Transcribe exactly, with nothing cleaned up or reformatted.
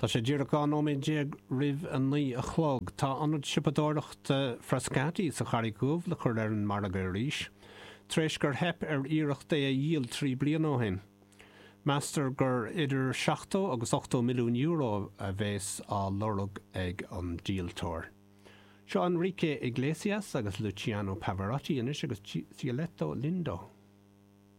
Tá sé díreach dhá nóiméad déag roimh a naoi a chlog. Tá ionad siopadóireachta Frascati sa Charraig Dhubh le cur ar an margadh arís, tar éis gur theip ar iarracht é a dhíol trí bliana ó shin. Meastar gur idir seachtó agus ochtó milliún euro a bheas á lorg ag an díoltóir. Seo Enrique Iglesias agus Luciano Pavarotti anois agus Cieletto Lindo.